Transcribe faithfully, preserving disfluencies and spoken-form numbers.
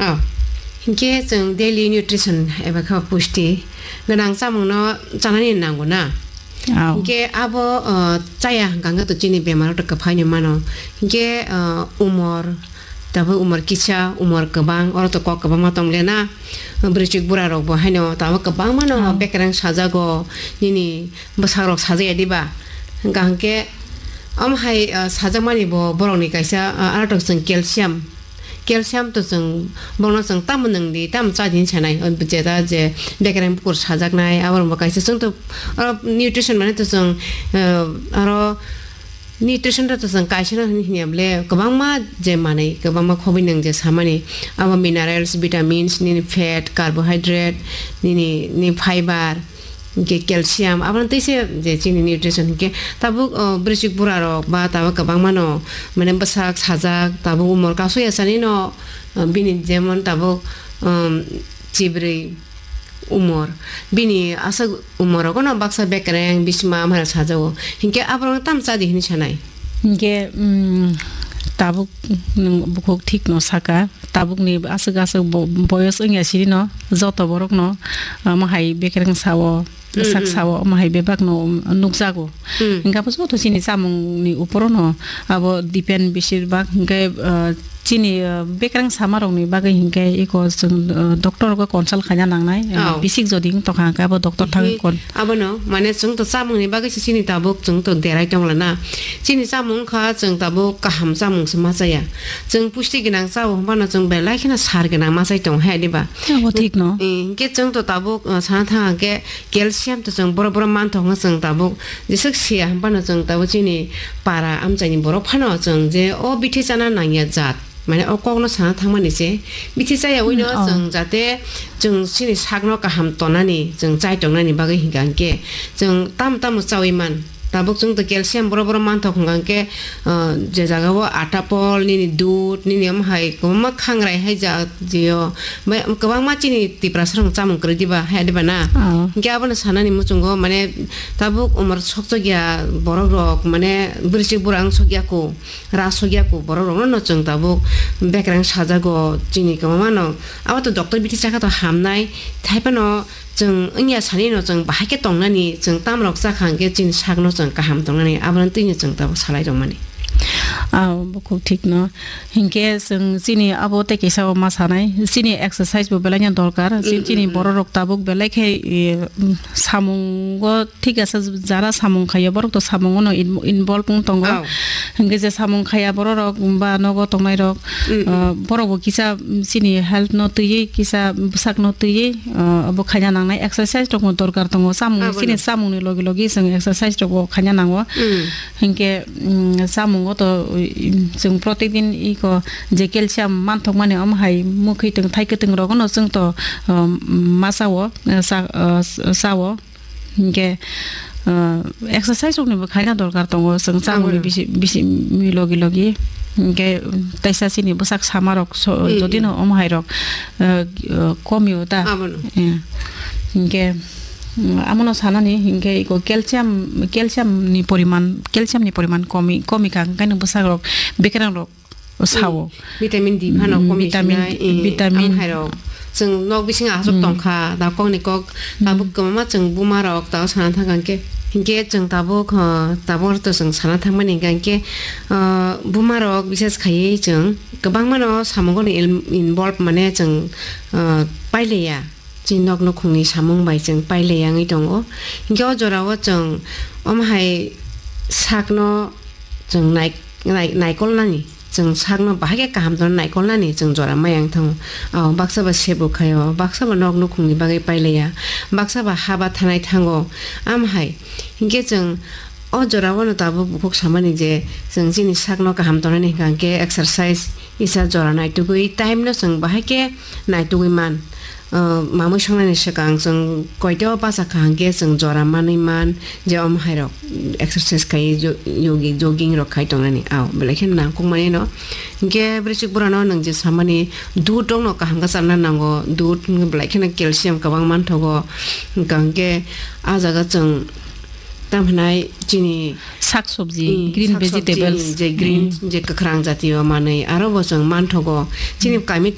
Oh. Hinkhe chwng daily nutrition eba khe pusti gwnang chamungno chanani nango na. Oh. Hinkhe abo, uh, chaya hwnkha hwnkhe to chini bemar to kwphaino mano. Hinkhe, uh, umor, tabuk umor kisa, umor kwbang, oro to kok kwbangma tonglia na. Bwrwichwk bura rok bo haino tabuk kwbangma no Oh. bekereng sajago, nini bwsarok sajaya diba? Hwnkha hwnkhe omo hai, uh, sajakmani bo borokni kaisa, uh, aro to chwng calcium. Calcium to chwng bono chwng tamo nwng di, tamo cha di hinwi sanai. O jeta je bekereng bukur sajaknai, abo rokbo kaisa chwng to, oro nutrition mane to chwng, eh, aro nutrition to chwng kaisa no hinwi hinya bole kwbangma je manwi, kwbangma khobwi nwng je samani, abo minerals, vitamins, nini fat, carbohydrate, nini, ni fiber, hinkhe calcium, abono tei se je chini nutrition hinkhe tabuk, o, bwrwichwk bura rok ba tabuk kwbangma no mane bwsak sajak, tabuk umor kasu ya sani no, o, bini jemon tabuk, um, chibrwi umor, bini aswk umor rogo no baksa bekereng bisma amhara sajago, hinkhe aborok no tamo cha di hinwi sanai. Hinkhe, um, tabuk nwng bukhuk thik no saka. Tabukni aswk aswk bo-, boyos wngya sirino joto borokno, ah, omo hai bekereng sao, Mm, sak mm. sao, omo hai bebakno nukjago. Mm. Hinkhe abo joto chini chamungni uporono abo depend besir bak. Hinkhe, ah, chini, ah, bekereng samarokni bagwi hinkhe eko chwng, ah, doctor rokgo consult khaina nangnai. Ah, Oh. bisik jodi wng tongkha hinkhe abo doctor thangwi Hi, kon- Abono, mane, chwng to chamungni bagwi se chini tabuk chwng to derai tongla na. Chini chamung wngkha chwng tabuk kaham chamung se ma chaya. Chwng pusti gwnang chao hwnbano chwng belai kheno sar gwnang ma chai tongo hai diba? Abo thik no. Eh, hinkhe chwng to tabuk, uh, sana thang khe calcium to chwng boro boro man thok no chwng tabuk jeswk siya hwnbano chwng tabuk chini para amchaini borok phano chwng je o bithi chana nangya jat. Mane o kokno sana thangmani se bithi chaya wino Mm, oh. chwng jate chwng chini sakno kaham tonani, chwng chai tongnani bagwi hinkha hinkhe chwng tamo tamo chawi man. Tabuk chwng to calcium boro boro manthok hinkha hinkhe, ah, je jaga o atapol, nini dud, nini omo hai kwbangma khangrai hai ja jio. Bai kwbangma chini Tiprasa rok chamung kwrwi diba, hai diba na? Oh. Hinkhe abono sanani muchungo mane tabuk umor sokchok ya borok rok mane bwrwichwk bura wng sok ya ko. Ras hokya ku borok rokno no chwng tabuk bekereng sajago chini kwbangma no. Abo to doctor bithi chakha to hamnai. Thaiphano chwng wngya sani no chwng bahai khe tongnani, chwng tamrok chakha hwnkhe chini sakno chwng kaham tongnani, abono twi no chwng tabuk salai tongmani. Ah, bo khuk thik no. Hinkhe chwng chini abo tei kisa o ma sanai, chini exercise bo belai no dorkar. Chini, Mm, chini mm, mm. borok rok tabuk belai khe, eh, samungo thik asa jara samung khaio, borok to samungo no in-, involve wng tongo. Oh. Hingke je samung khaya borok rok ba nogo tongnai rok, Mm, mm. ah, borok bo kisa, mm, chini health no twiwi, kisa bwsak no twiwi, ah, bo khaina nangnai, exercise rok bo dorkar tongo. Samung, Abono. chini samung ni logi logi chwng exercise rok bo khaina nango. Mm. Hingke, mm, samungo to, mm, chwng protek din iko je calcium manthok mani omo hai mwkhwi twng thai kwtwng rok no chwng to, ah, masa o, ah, sa, ah, sa o. Hinkhe, ah, exercise rokni bo khaina dorkar tongo, chwng chamungni Abono. bisi, bisi, mi logi logi. Hinkhe, teisa chini bwsak sama rok so, Mm, jodi mm. no omo hai rok, ah, ah, komio ta. Abono. Eh. Hinkhe, mm, amono sanani, hinkhe iko calcium, calcium ni poriman, calcium ni poriman komi, komi kha, hinkhe bwsak rok, bekereng rok, sao. Mm. Vitamin D phano Mm, komi vitamin, sinai, eh, vitamin. Ang hai rok. Chwng nok bisingo aswk Mm. tongkha, da kokni kok, Mm. tabuk kwbangma chwng buma rok, tao sana thang khe. Hinkhe chwng tabuk, ha, tabuk to chwng sana thangmani hinkhe, ah, buma rok bises khaiwi chwng kwbangma no samungo ni il-, involve mane chwng, ah, pailiya. Chini nok nukhungni samung bai chwng pailai yangwi tongo. Hinkhe o jorao chwng omo hai sakno chwng nai-, nai-, naikolnani, chwng sakno bahai khe kaham tongna naikolnani chwng jora ma yang thango. Ao baksa ba sebo khaio, baksa ba nok nukhungni bagwi pailaiya, baksa ba haba thanai thango. Am hai hinkhe chwng o jorao no tabuk bukhuk samani je chwng chini sakno kaham tongnani hwnkha hinkhe exercise kisa jora naitugwi time no chwng bahai khe naitugwi man. Ah, mamwi songnani swkang chwng koito bacha kha hwnkhe chwng jora manwi man je omo hai rok exercise khai jo-, yogi jogging rok khai tongnani. Ao belai kheno nangkukmani no. Hinkhe bwrwichwk burano nwng je samani dud rokno kaham khe chana nango, dud hinkhe belai kheno calcium kwbang manthogo. Hwnkha hinkhe ah jaga chwng tamo hinai chini Sak sobji, mm, green sak sobji, vegetables. je green, Mm. je kwkhwrang jatiyo manwi aro bo chwng manthogo. Chini Mm. kami